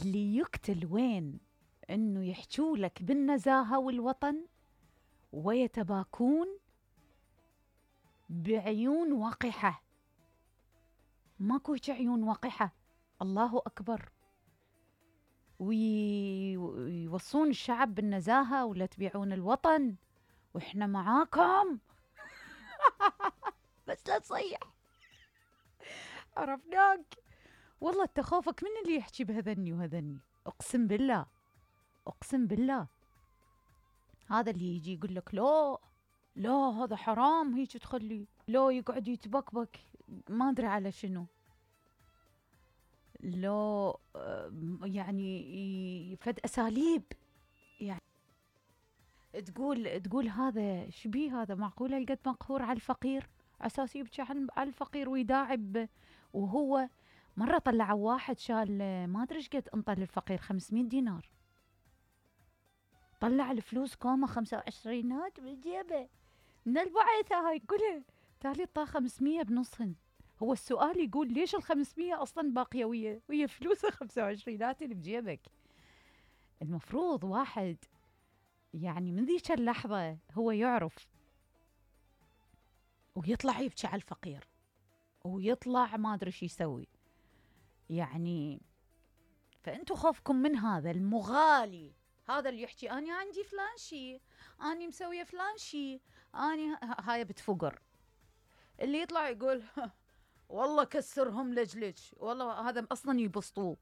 اللي يقتل وين انه يحجوا لك بالنزاهة والوطن ويتباكون بعيون وقحة. ماكو هيك عيون وقحة، الله أكبر. ويوصون الشعب بالنزاهة ولا تبيعون الوطن وإحنا معاكم. بس لا تصيح، عرفناك. والله تخافك من اللي يحكي بهذني وهذني، أقسم بالله أقسم بالله. هذا اللي يجي يقول لك لا لا هذا حرام هيك تخلي، لا يقعد يتبكبك ما أدري على شنو، لا يعني فد أساليب، يعني تقول هذا شبيه، هذا معقولة هالقد مقهور على الفقير أساس يبكي على الفقير ويداعب. وهو مرة طلعوا واحد شال ما أدري إيش قد انطى للفقير 500 دينار، طلع الفلوس كومة 25 بالجيبه من البعثة هاي كلها، تالي طا 500 بنصهن. هو السؤال يقول ليش ال500 أصلا باقية ويا فلوسه 25 اللي بجيبك؟ المفروض واحد يعني من ذيك اللحظة هو يعرف ويطلع يبكي على الفقير ويطلع ما أدري شو يسوي يعني. فأنتوا خوفكم من هذا المغالي، هذا اللي يحكي أني عندي فلان شي، أني مسوية فلان شي، أني هاي بتفقر. اللي يطلع يقول والله كسرهم لجلج، والله هذا أصلا يبسطوه.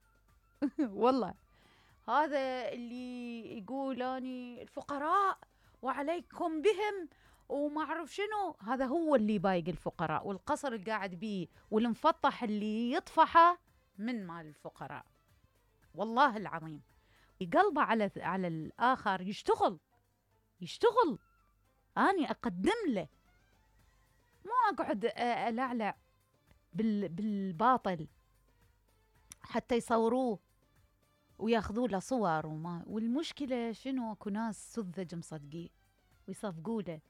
والله هذا اللي يقول أني الفقراء وعليكم بهم وما أعرف شنو، هذا هو اللي بايق الفقراء، والقصر اللي قاعد بيه والمفطح اللي يطفحه من مال الفقراء. والله العظيم قلبه على الآخر يشتغل أني أقدم له، مو أقعد ألعلع بالباطل حتى يصوروه وياخذوا له صور والمشكلة شنو؟ اكو ناس سذج مصدقيه ويصفقوا له